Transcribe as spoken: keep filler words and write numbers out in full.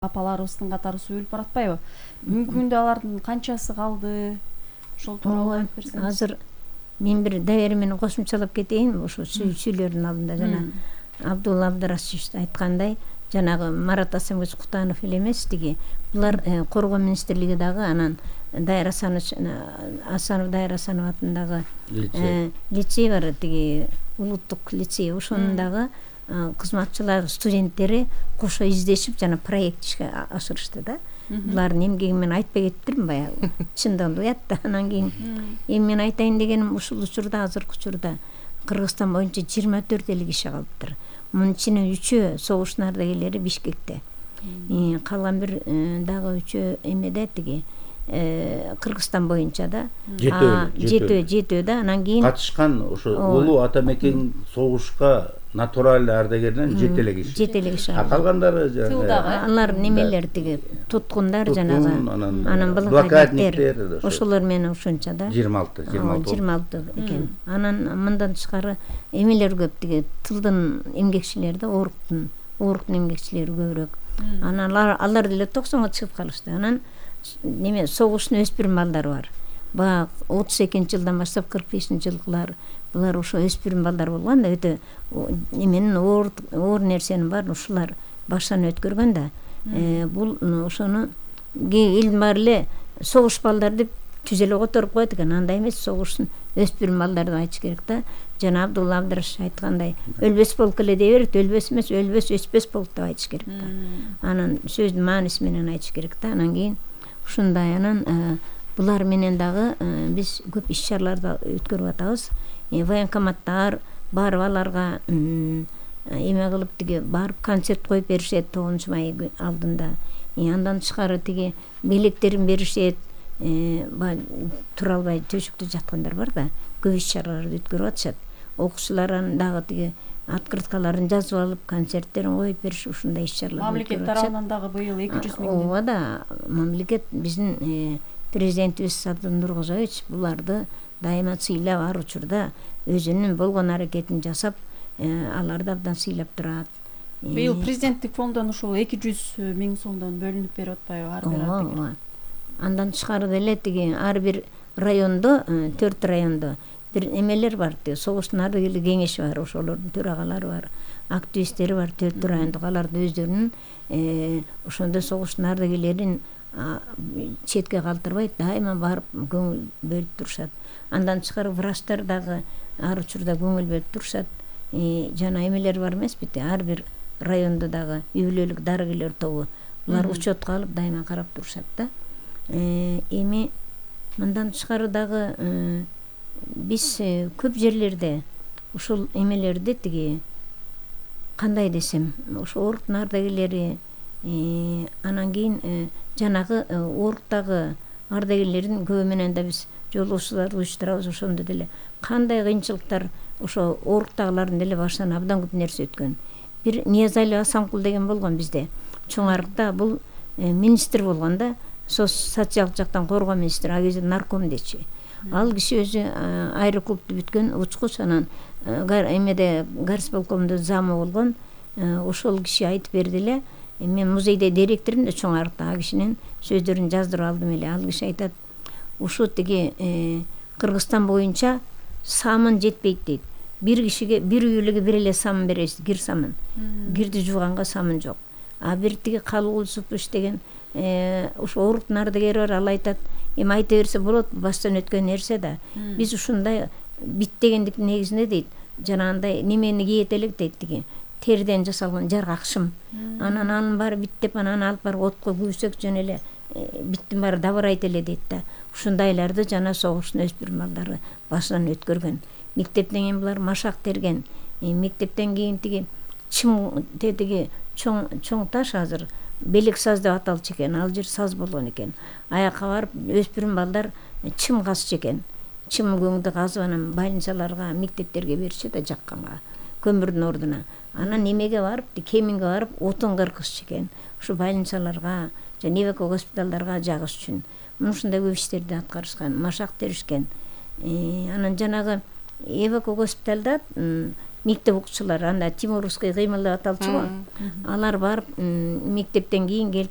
апаларыбыздын катары сүйүлүп баратпайбы? Бүгүнкү күндө алардын канчасы калды? Ошол тууралуу айтып берсеңиз. Азыр мен бир дайыр менен кошумчалап кетейин. Ошо сүйлөрдүн алдында жана Абдулла Абдрашевич айткандай, жанагы Марат Асанбек Кутанов эле эмес, тиги булар коргоо министрлиги дагы, анан Дайыр Асанов Асанов Дайыр Асанов атындагы лицей бар, тиги улуттук лицей, ошонун дагы кызматчылар, студенттери кошо издешип жана проект ишке ашырышты да. Булардын эмгеги мен айтпай кеттирмин баягы. Чындыгында уят да. Анан кийин эми мен айтайын дегеним, ушул учурда, азыркы учурда Кыргызстан боюнча жыйырма төрт эле киши калыптыр. Мунун ичинен үчөө согуштун ардагерлери Бишкекте. Калган бир дагы үчөө эмеде, тиги Кыргызстан боюнча да. Жетөө, жетөө да. Анан кийин катышкан ошо улуу ата мекен согушка натуралдуу ардагерден жети эле киши. Жети эле киши. А калгандары алар немелер, тиги туткундар, жанагы анан блокадниктер, ошолор менен ушунча да. жыйырма алты жыйырма алты экен. Анан мындан тышкары эмелер көп, тиги тылдын эмгекчилери да, ооруктун ооруктун эмгекчилери көбүрөөк. Анан алар алар деле токсонго чыгып калышты. Анан неме согуштун өспүрүм балдары бар. Бак отуз экинчи жылдан баштап кырк бешинчи жылкылар булар ошо өспүрүм балдар болгон да, өтө неменин оор оор нерсенин баарын ушулар баштан өткөргөн да. Бул ошону элдин баары эле согуш балдар деп түз эле которуп коет экен. Андай эмес, согуштун өспүрүм балдар деп айтыш керек да. Жана Абдулла Абдраш айткандай, өлбөс полк эле дей берет, өлбөс эмес, өлбөс өчпөс полк деп айтыш керек да. Анан сөздүн мааниси менен айтыш керек да. Анан кийин ушундай, анан булар менен дагы биз көп иш чараларды өткөрүп атабыз. Военкоматтар барып аларга эме кылып, тиги барып концерт коюп беришет тогузунчу май алдында. Андан тышкары тиги белектерин беришет. Тура албай төшүктө жаткандар бар да, көп иш чараларды өткөрүп атышат. Окуучулар дагы тиги открыткаларын жазып алып, концерттерин коюп бериш, ушундай иш чаралар. Мамлекет тарабынан дагы быйыл эки жүз миң. Ооба да, мамлекет биздин президентибиз Садыр Нуркожоевич буларды дайыма сыйлап, ар учурда өзүнүн болгон аракетин жасап, аларды абдан сыйлап турат. Быйыл президенттик фонддон ушул эки жүз миң сомдон бөлүнүп берип атпайбы ар бир ардагерге? Андан тышкары деле тиги ар бир райондо, төрт райондо бир эмелер бар, тиги согуштун ардагерлер кеңеши бар, ошолордун төрагалары бар, активисттери бар, төрт райондо. Аларды өздөрүнүн ошондо согуштун ардагерлерин четке калтырбайт, дайыма барып көңүл бөлүп турушат. Андан тышкары врачтар дагы ар учурда көңүл бөлүп турушат. Жана эмелер бар эмеспи, ар бир райондо дагы үй бүлөлүк дарыгерлер тобу, булар учетко алып дайыма карап турушат да. Эми мындан тышкары дагы биз көп жерлерде ушул эмелерди, тиги кандай десем, ошо ооруктун ардагерлери, анан кийин жанагы ооруктагы ардагерлердин көбү менен да биз жолугушууларды уюштурабыз. Ошондо деле кандай кыйынчылыктар ошо ооруктагылардын деле башынан абдан көп нерсе өткөн. Бир Ниязали Асанкул деген болгон бизде, чоң арыкта. Бул министр болгон да, социалдык жактан коргоо министри, ал кезде нарком дечи. Ал киши өзү аэроклубду бүткөн, учкуч, анан эмеде горисполкомдо замы болгон. Ошол киши айтып берди эле. Мен музейде директормун да, чоң арыкта. А кишинин сөздөрүн жаздырып алдым эле. Ал киши айтат, ушу тиги Кыргызстан боюнча самын жетпейт дейт. Бир кишиге, бир үйлүгө бир эле самын бересиз, кир самын. Кирди жууганга самын жок. А бир тиги Калыгул Супуш деген ошо ооруктун ардагери бар, ал айтат, эми айта берсе болот, баштан өткөн нерсе да. Биз ушундай бит дегендиктин негизинде дейт, жанагындай немени кийет элек дейт, тиги териден жасалган жаргакшым. Анан анын баары биттеп, анан алып барып отко күйсөк жөн эле биттин баары дабырайт эле дейт да. Ушундайларды жана согуштун өспүрүм балдары башынан өткөргөн. Мектептен кийин булар машак терген. Мектептен кийин тиги чым тетиги чоң чоң таш, азыр белек саз деп аталчу экен. Ал жер саз болгон экен. Аякка барып өспүрүм балдар чым казчу экен. Чым көңдү казып, анан больницаларга, мектептерге беришет да, жакканга, көмүрдүн ордуна. Анан немеге барып, кеминге барып отун кыргызчу экен. Ушу больницаларга, жана эвако госпиталдарга жагыш үчүн. Ушундай көп иштерди аткарышкан, машак теришкен. Анан жанагы эвако госпиталда мектеп окуучулары анда тимурский кыймыл деп аталчу го. Алар барып мектептен кийин келип